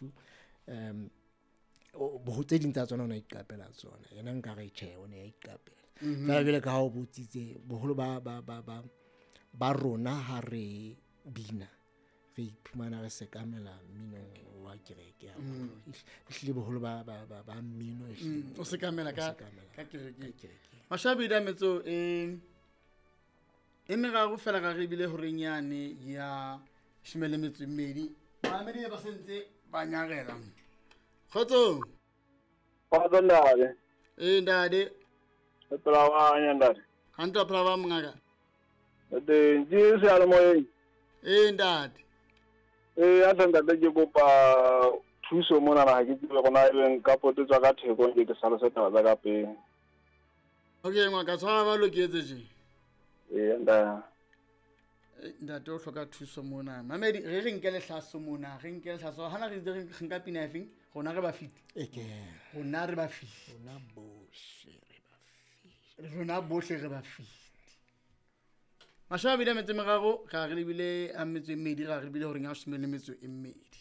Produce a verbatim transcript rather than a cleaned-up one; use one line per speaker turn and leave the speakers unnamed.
Lefu um o- boho tse ding tsa tsona o ne a iqapela tsona, yena nka re tjhe, o ne a iqapela. Fela jwale ka ha o botsitse, boholo ba ba ba ba ba rona ha re bina re iphumana re sekamela mminong wa kereke haholo. Ehlile boholo ba ba ba ba mmino ehlile
Mm, o sekamela
o
ka
sekamela
ka kerekeng.
ka kerekeng.
Mashabedi a metso e e meraro fela ga re ebile horeng yane ya shome le metso e mmedi. Bamamedi ba sentse ba nyarela. Kgotsong.
Kgotso ntate.
Ee ntate.
Re phela wa ntate.
Hantle wa phela ba mongaka.
Re teng ke seyalemoyeng.
Ee ntate.
Ee, a tle ntate ke kopa thuso monana, ha ke tsebe hore na ebe nka potetswa ka theko nke ke hlalose taba tsa ka pele.
Okay ngaka, tshwara ba loketse tje.
Ee ntate.
Eh, ntate o hloka thuso mona. Mamedi re re nke lehlaso mona, re nke lehlaso. Hana re itse re nka pina efeng? Rona re ba fit.
E ke.
Rona re ba fit.
Rona bohle re ba fit.
Rona bohle re ba fit. Mashome a mabedi a metso e meraro, ra re lebile a metso e mmedi, ra re lebile horeng ya leshome le metso e mmedi.